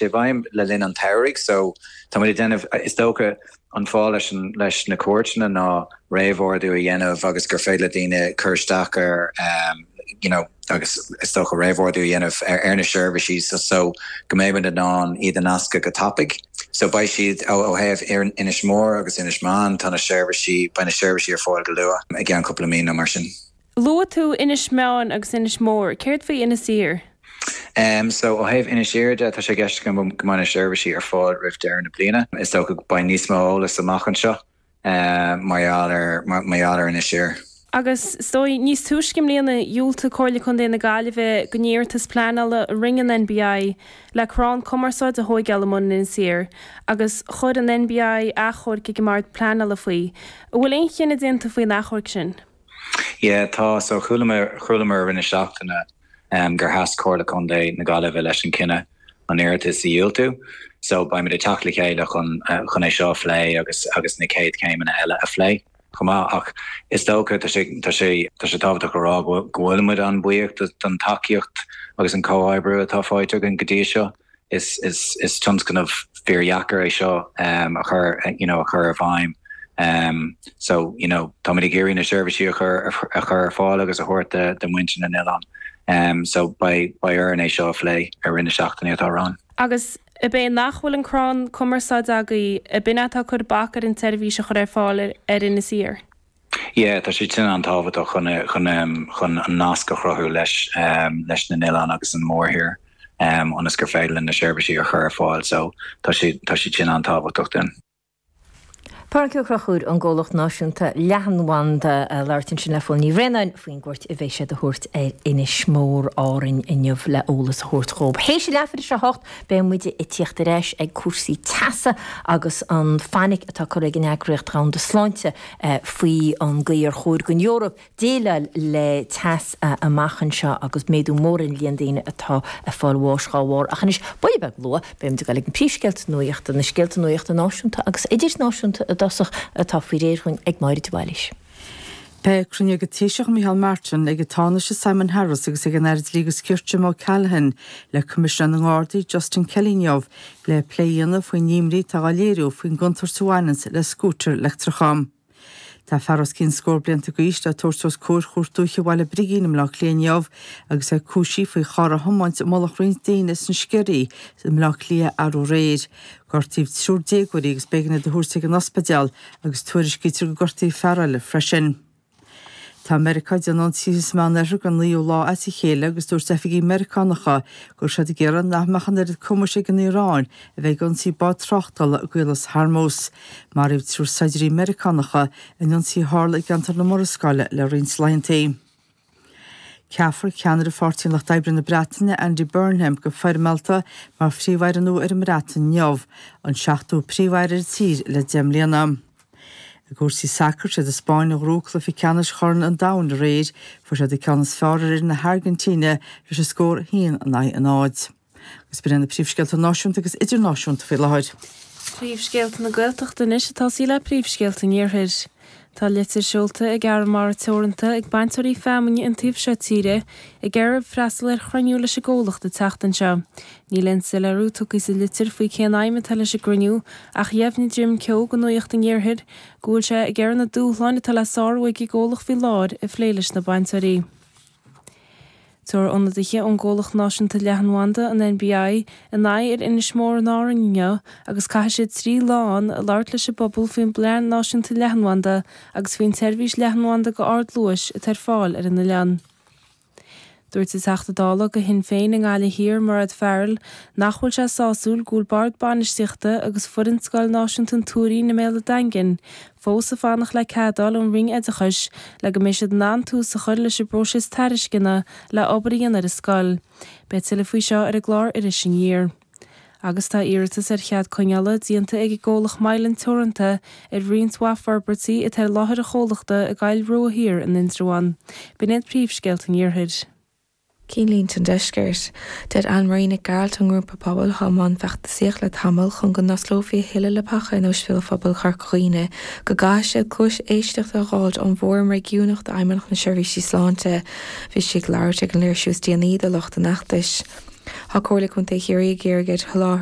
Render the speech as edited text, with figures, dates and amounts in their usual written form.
sé i bhfeidhm le linn an tsamhraidh so tá muid ag déanamh, is dócha an fáth leis an, leis na cuairteanna ná réamhordú a dhéanamh agus gur féidir le daoine cur isteach ar you know agus is dócha réamhordú a dhéanamh ar ar na seirbhísí so so go mbeidh muid in ann iad a nascadh go tapaidh. So beidh siad ó ó thaobh Inis Mór agus Inis Meáin tá na seirbhísí, beidh na seirbhísí ar fáil go luath i gceann cúpla mí nó mar sin. Luaigh tú Inis Meáin agus Inis Mór, céard faoi Inis Oírr? So ó thaobh Inis Oírr de, tá sé i gceist agam go mbeidh na seirbhísí ar fáil roimh deireadh na bliana. Is dócha go beidh níos mó eolas amach anseo mar gheall ar mar gheall ar Inis Oírr. Agus is dóigh, níos túisce i mbliana, dhiúltaigh Comhairle Contae na Gaillimhe don iarratas pleanála a rinne an NBI le crann cumarsáide a thóigeáil i mbun Inis Oírr agus chuir an NBI achomharc ag an mBord Pleanála faoi. An bhfuil aon chinneadh déanta faoin achomharc sin? Yeah, tá. So chualamar, chualamar i rith na seachtaine gur sheas Comhairle Contae na Gaillimhe leis an cinneadh an iarratas a dhiúltú. So beimid ag teacht le chéile chun, chun é seo a phlé agus, agus na chéad chéimeanna eile a phlé chomh maith. Ach is dócha, tá sé, tá sé, tá sé tábhachtach a rá go bhfuil, go bhfuil muid an-bhuíoch don tacaíocht agus an comhoibriú atá faighte againn go dtí seo. Is tionscnamh fíordheacair é seo a chur you know a chur i bhfeidhm. So you know táimid ag iarraidh na seirbhísí a chur a chur ar fáil agus a thabhairt do mhuintir na n-oileán. So beidh beidh orainn é seo a phlé i rith na seachtainí atá romhainn. Agus ab é nach bhfuil an crann cumarsáide agaibh, ab in é atá ag cur bac ar an tseirbhís a chur ar fáil ar Inis Oírr? Yeah, tá sé sin an-tábhachtach chun chun chun an nasc a chruthú leis leis na n-oileáin agus an mórthír ionas gur féidir linn na seirbhísí a chur ar fáil so tá sé tá siad sin an-tábhachtach dúinn. Pádraic Ó Conchúir ón gComhlacht Náisiúnta Leathanbhanda ag labhairt ansin le Fódhla Ní Bhraonáin faoin gcuairt a bheidh siad a thabhairt ar Inis Mór Árainn inniu le eolas a thabhairt dhóibh. Théis a leathuair tar éis a hocht beidh muid ag tíocht ar ais ag cúrsaí teasa agus an fainic atá curtha ag an Eagraíocht Dhomhanda Sláinte faoi an gcaoi ar chóir don Eoraip déileáil le teas amach anseo agus méadú mór ar an líon daoine atá ag fáil bháis dhá bharr. Ach anois, buille beag luath, beidh muid ag dul ag na príomhscéalta nuachta, na scéalta nuachta náisiúnta agus idirnáisiúnta i dtosach, atá faoi réir dhúinn ag Máire de Bhailís. Beidh cruinniú ag an Taoiseach Micheál Martin, ag an Tánaiste Simon Harris agus ag an Aire Dlí agus Cirt Jim O'Callaghan le Coimisinéir na nGardaí Justin Kelly inniu le plé a dhéanamh faoin imní atá á léiriú faoin gcontúirt a bhaineanns le scútair leictreacha. Tá fear os cionn scór blianta d'aois le tabhairt os comhair Chúirt Dúiche Bhaile Brigín i mBleá Cliath inniu agus é cúisithe faoi charr a thiomáint i mullach roinnt daoine sna Sceirí i mBleá Cliath arú aréir. Gortaíodh triúr déagóirí agus b'éigean iad a thabhairt ag an ospidéal agus tuairiscítear gur gortaíodh fear eile freisin. Tá Meiriceá ag déanamh ionsaithe sa Meánoirthear don naoú lá as a chéile agus dúirt oifigigh Meiriceánacha go raibh siad ag iarraidh nach mbeadh an oiread cumais ag an Iaráin a bheith ag ionsaí bád tráchtála i gCaolas Hormuz. Maraíodh triúr saighdiúirí Meiriceánacha in ionsaí a tharla i gceantar na Murascaille le roinnt laethanta. Ceapfar ceannaire Pháirtí an Lucht Oibre na Breataine, Andy Burnham, go foirmeálta mar Phríomh-Aire nua ar an mBreatain inniu, an seachtú Príomh-Aire ar an tír le 10 mbliana. I gcúrsaí sacair, siad an Spáinn a ghnóthaigh cluiche ceannais Chorn an Domhain aréir. Fuair siad an ceann is fearr ar fhoireann na hAirgintíne leis an scór 1-0. Agus b'in iad na príomhscéalta náisiúnta agus idirnáisiúnta faoi láthair. Príomhscéalta na Gaeltachta anois ag tosaí le príomhscéalta an Iarthair. Tá litir seolta ag Arramara Teoranta ag bainteoirí feamainne an taobh seo tíre ag iarraidh freastal ar chruinniú leis an gcomhlacht an tseachtain seo. Níl aon soiléiriú tugtha sa litir faoi cén aidhm atá leis an gcruinniú ach dheimhnigh Jim Keogh do Nuacht an Iarthair go bhfuil sé ag iarraidh na dúshláin atá le sárú ag an gcomhlacht faoi láthair a phlé leis na bainteoirí. Tabharfaidh ionadaithe ón gcomhlacht náisiúnta leathanbhanda, an NBI, a n-aghaidh ar Inis Mór in Árainn inniu agus caithfidh siad 3 lá ann ag labhairt leis an bpobal faoin bplean náisiúnta leathanbhanda agus faoin tseirbhís leathanbhanda go ardluais atá ar fáil ar an oileán. Dúirt an Teachta Dála do Shinn Féin i nGaillimh Thiar, Mairéad Farrell, nach bhfuil sé sásúil go bhfuil Bord Bainistíochta agus foireann Scoil Náisiúnta an Tuairín i mBéal an Daingin fós ag fanacht le cead a fháil ón Roinn Oideachais le go mbeidh siad in ann tús a chur leis an bpróiseas tairisceana le obair a dhéanamh ar an scoil. Beidh tuilleadh faoi seo ar an gclár Iris Aniar. Agus tá iarratas ar chead coinneála déanta ag an gcomhlacht Mylan Teoranta ar roinnt mhaith forbairtí atá ar láthair an chomhlachta i gCoill Rua Thiar in Indreabhán. B'in iad príomhscéalta an Iarthair. Cinnlínte an Deiscirt. Deir Anne Marie Nic Gearailt ón ngrúpa pobail atá i mbun feachtasaíocht le tamall chun go n-osclófaí a thuilleadh leapacha in Ospidéal Phobail Chorca Dhuibhne go gcaithfidh siad cluas éisteachta a dh'fháilt ón bhFóram Réigiúnach d'Fheidhmeannacht na Seirbhísí Sláinte. Bhí sí ag labhairt ag an léirsiú is déanaí do lucht an fheachtais. Tá Comhairle Contae Chiarraí ag iarraidh ar sholáthraithe.